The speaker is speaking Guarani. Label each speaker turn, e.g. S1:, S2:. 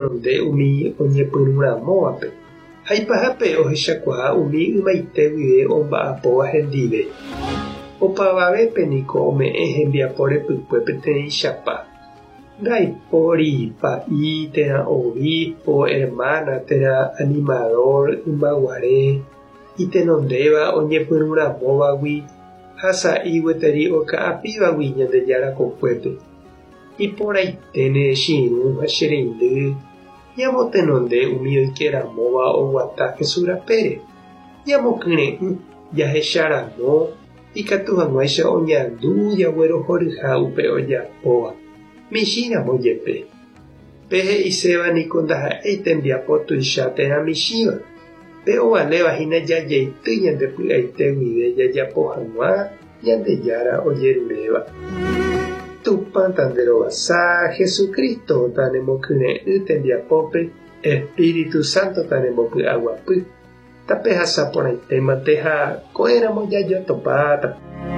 S1: Omotenonde umi oñepyrũramóvape, ha ipahápe ohechakuaa umi ymaite guive omba'apóva hendive. Opavavépe niko ome'ẽ hembiapo repykue peteĩchapa. Ndaipóri pa'i térã obispo, hermana térã animador ymaguare itenondéva oñepyrũramóvagui ha sa'i gueteri oka'apívagui Ñandejára kokuépe. Iporãiténe che irũ ha che reindy ñamotenonde umi oike ramóva oguata Jesús rapére. Ñamokyre'ỹ jahecha ramo ikatu hag̃uáicha oñandu jaguerohoryha upe ojapóva, michĩ ramo jepe. Pe he'iséva niko ndaha'éi tembiapo tuicha térã michĩva, pe ovaléva hína jajeity ñande py'aite guive jajapo hag̃ua Ñandejára ojeruréva. Tupã tanderovasa, Jesucristo tanemokyre'ỹ tembiapópe, Espíritu Santo tanembopy'aguapy. Tapehasa porãitémante ha ko'ẽramo jajotopáta.